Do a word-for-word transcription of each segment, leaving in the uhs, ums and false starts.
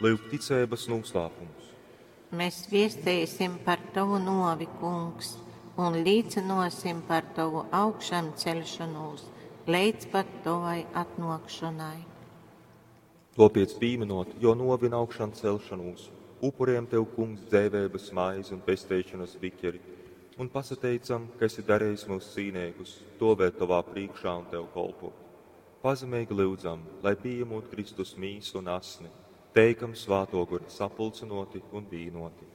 Lyuk ticeibas noslēpums. Mēs viesteisim par tavu novi, Kungs, un līcinosim par tavu augšamceļšanos līdz pat tavai atnākšanai. Topiec pīminot, jo novi un augšām celšanos, upuriem tev, Kungs, dzēvēbas maizi un pesteišanas biķeri, un pasateicam, ka esi darījis mūs cīnīgus, stovēt tavā priekšā un tev kolpot. Pazemīgi lūdzam, lai pieņemot Kristus mīsu un asni, teikam svāto guru sapulcinoti un vīnoti.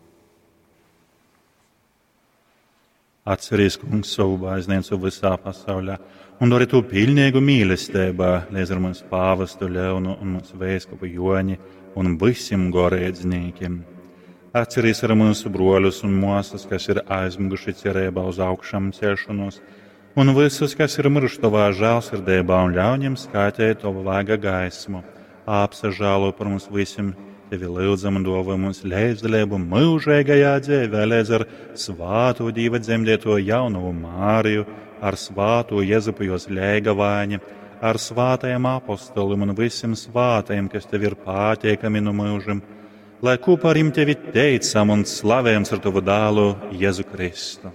Atceries, Kungs, savu baznīcu visā pasaulē un dari to pilnīgu mīlestībā, līdz ar mums pāvestu Leonu un mums vēskupu Joņi un visiem goreidznīkiem. Atceries arī mūsu broļus un māsas, kas ir aizmiguši cerībā uz augšām celšanos, un visus, kas ir miruši tavā žēlsirdībā un ļauj viņiem skaitīt tavu vaiga gaismu. Apsažālo par mums visiem, tevi lūdzam un dāvā mums līdzdalību mūžīgajā dzīvē, līdz ar svāto Dieva dzemdēto jaunavu Māriju, ar svāto Jezupu jos ļēgavāņa, ar svātajiem apostoliem un visiem svātajiem, kas tev ir pateikami no mūžiem, lai kopā ar viņiem tevi teicam un slavējam ar tavu dēlu Jēzu Kristu.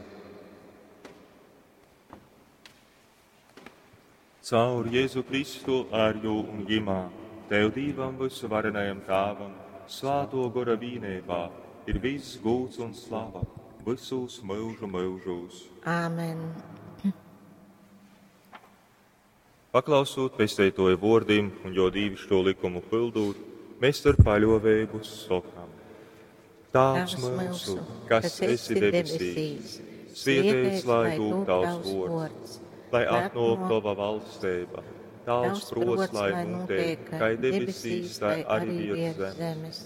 Caur Jēzu Kristu ar jū un ģimā, tev Dievam visu varenajam Tāvam, svāto gora vīnībā, ir viss gūts un slava visos mūžu mūžos. Āmen. Paklausot pesteitoja vōrdim un jo dīvišķo likumu pildūt, mēs ar paļovēbu sokam. Tāvs mūsu, kas esi debesīs, svietēts lai tūp tavs vōrds, lai atnāk tava valstība, tavs prots, lai notiek, kā debesīs, tā arī virs zemes.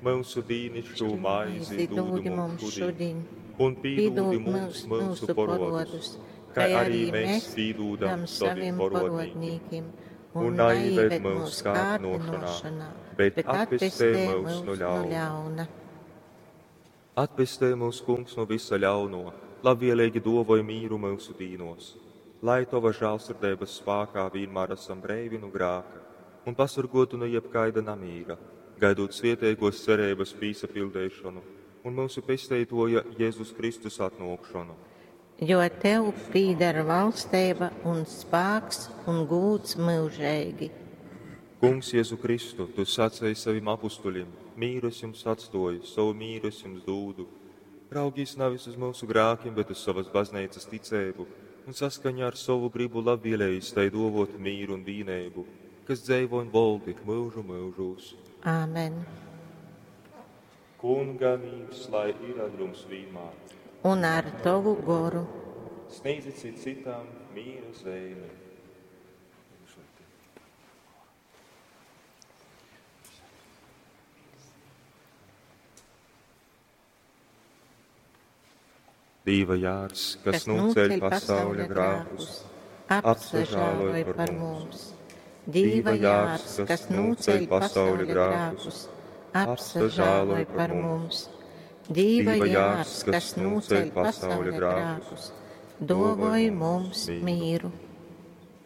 Mūsu dīnišķo maizi dūdi mums šodien, un pīdūdi mums mūsu porodus, kā arī mēs pīdūdam saviem porodnīkim, un naieved mūsu kārdinošanā, bet atpestē mūs no ļauna. Atpestē mūs, Kungs, no visa ļauno, labvēlīgi dovoj mīru mūsu dīnos, lai tava žēlsirdības spākā vienmēr esam breivi no grāka un pasargotu no jebkaida namīra, gaidot svietēgos cerības pīsapildēšanu un mūsu pesteitoja Jēzus Kristus atnākšanu. Jo tev pīdara valstība un spāks un gūts mūžīgi. Kungs Jēzu Kristu, tu sacēji saviem apustuļiem, mīru es jums atstoju, savu mīru es jums dūdu. Raugīs nevis uz mūsu grākiem, bet uz savas baznīcas ticēbu un saskaņā ar savu gribu labvēlējis tai dovot mīru un vīnēbu, kas dzēvo un voldi mūžu mūžūs. Āmen. Kunga mīrs, lai ir ar jums vienmēr. Un ar tavu goru. Sniedzit cit citam mīra zīmi. Dīva jārs, kas, kas nūceļ pasauļa grākus, apsažāloj par mums. Dīva jārs, kas nūceļ pasauļa grākus, apsažāloj par mums. Dīva jārs, kas nūceļ pasauļa grākus, dovoj mums mīru.